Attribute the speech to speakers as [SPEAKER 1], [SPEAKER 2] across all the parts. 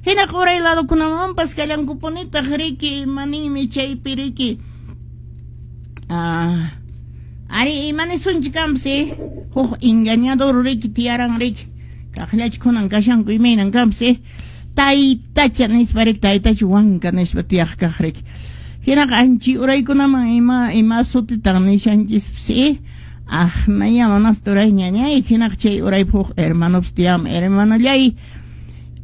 [SPEAKER 1] Hinaqa uray ladokunamanpas kallankupunitaq riki, imaninmi chaypi riki. Ari imanisunchik kanpas huk engañador riki tiyaran riki. Kaqllachu kunan kashanku imaynan kanpas taytacha nispa riki, taytacha wanka nispa tiyaq kaq riki. Hinaqa anchi uraykunaman ima sutitan nishanchispas aqnaya manas turay ñañay, hinaqa chay uraypi huk hermanopas tiyam, hermanollay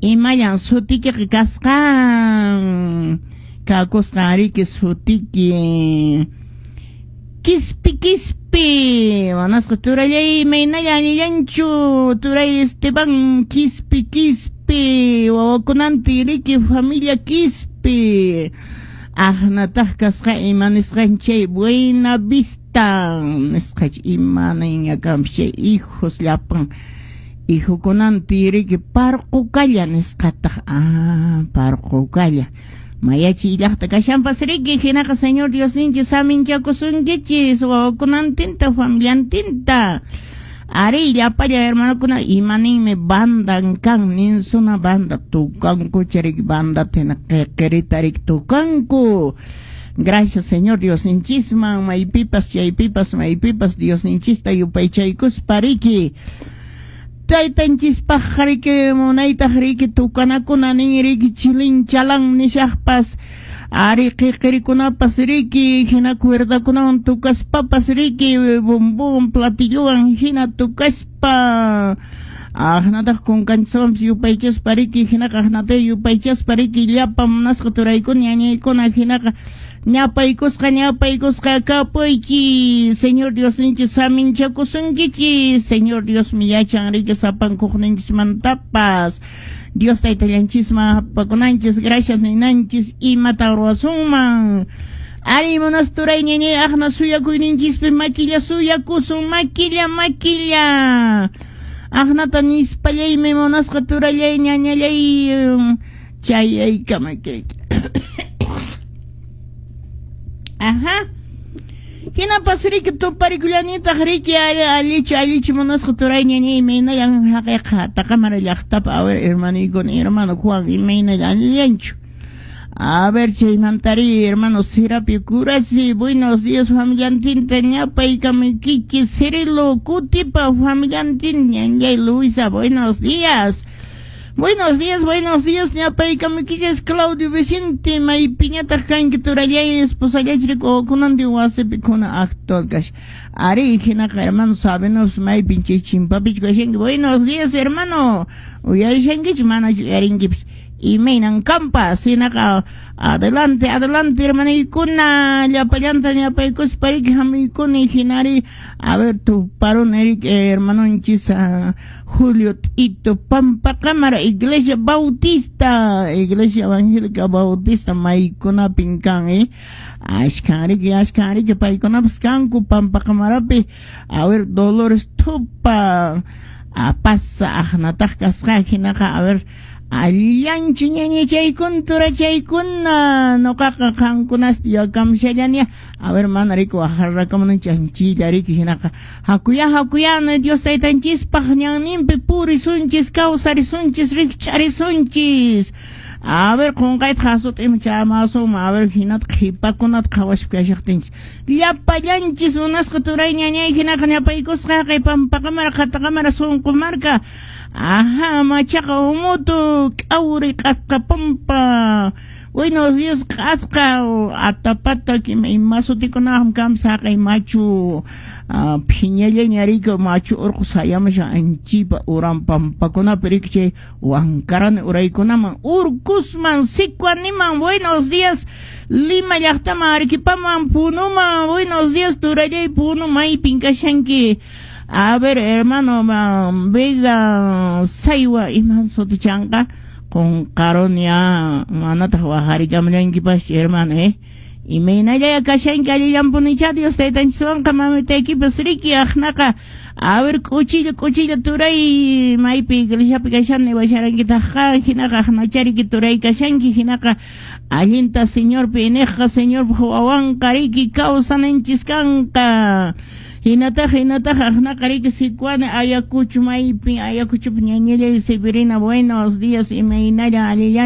[SPEAKER 1] imallan sutikiqa kasqan kakusqan riki sutiki Quispi Quispi, manasqa turallay imaynalla allillanchu turay Esteban Quispi Quispi, wawakunantin riki familia Quispi, aqnataq kasqa ima nisqan chay Buena Vista nisqa imaninña kanpas chay hijos llapan hijokunantin riki Parqukalla nisqataq, Parqukalla. Mayachi llaqta kashanpas riki, hinaqa Señor Diosninchis saminchakusunkichis wawakunantinta familiantinta. Ari llapalla hermanokuna imaninmi bandan kan ninsuna banda tukanku riki banda hina qiqirita riki tukanku. Gracias Señor Diosninchisman maypipas chaypipas maypipas Diosninchista yupaychaykuspa riki. Taytanchispaq riki munaytaq riki tukanakuna nin riki chilin chalan nishaqpas ari qiqirikunapas riki hina cuerdakunawan tukaspapas riki bombón platillowan hina tukaspa aqnataq kunkanchiswanpas yupaychaspa riki hinaqa aqnata yupaychaspa riki llapa munasqa turaykuna ñañaykuna hinaqa ñapaykusqa ñapaykusqa kapuychis Señor Diosninchis saminchakusunkichis Señor Diosmi yachan riki sapankuqninchismantapas Dios taytallanchisman hapakunanchis gracias ninanchis imata ruwasunman ari munas turay ñañay aqna suyakuyninchispi makilla suyakusun makilla makilla aqnata nispallaymi munasqa turallay ñañallay chayaykama Ajá. Hinapas riki tuparikullanitaq riki allichu allichu munasqa turay ñañay imaynallan haqiqa Taqamara llaqtapa a ver hermanoykuna hermano Juan imaynallan allillanchu. A ver chaymantari hermano Serapio Curasi, buenos días familiantinta ñapaykamaykichis Cirilo Kutipa familiantin ñañay Luisa, buenos días. Buenos días, ñapaykamaykichis Claudio Vicente, maypiñataq kanki turallay esposallachri kunantin wasipi kuna actual kash. Ari hinaqa hermano sabenos maypin chay chimpapichu kashanki. Buenos días hermano, uyarishankichu manachu uyarinkipas. Imaynan kampas hinaqa adelante adelante hermanaykuna llapallanta ñapaykuspa riki hamuykuni hinari a ver tuparun hermanonchis Julio Tito Pampaqamara Iglesia Bautista Iglesia Evangélica Bautista maykunapin kan ashkan riki paykunapas kanku Pampaqamarapi a ver Dolores Tupa apasa aqnataq kasqa hinaqa a ver allillanchu ñañachaykuna turachaykuna nuqaqa qankunasta yakamshallani a ver mana riki waqarrakamunanchis anchilla riki hinaqa hakuya hakuya Dios taytanchispaq ñanninpi purisunchis kawsarisunchis rikch'arisunchis a ver qunqayta hasuta ima chamasunman a ver hinata qhipakunata qhawaspa kashaqtinchis llapallanchis munasqa turay ñañay hinaqa ñapaykusqa haqay Pampaqamara Qataqamara Sunqumarka ajá machaqa umutu k'awri q'asqa pampa buenos días q'asqa atapata ima sutikunaqam kanpas haqay machu phiñallaña riki machu urqu sayamushan anchipa uran pampakunapi riki chay Wankarani uraykunaman urkusman Sicuaniman buenos días Lima llaqtaman Arequipaman Punuman buenos días turallay Puno maypin kashanki. A ver, hermano, Vega Saywa iman sutichanqa qunqarunya manataq waqarikamullankipas hermano imaynallaya kashanki allillanpunicha Dios taytanchiswanqa mamitaykipas riki aqnaqa a ver k'uchilla k'uchilla turay maypi iglesiapi kashani washarankitaqqa hinaqa aqnachariki turay kashanki hinaqa allinta Señorpi iniqqa Señorpaq wawanqa riki kawsananchis kanqa hinataq hinataq aqnaqa riki Sicuani Ayacucho maypi Ayacuchopi ñañallay Severina buenos días imaynalla allillan.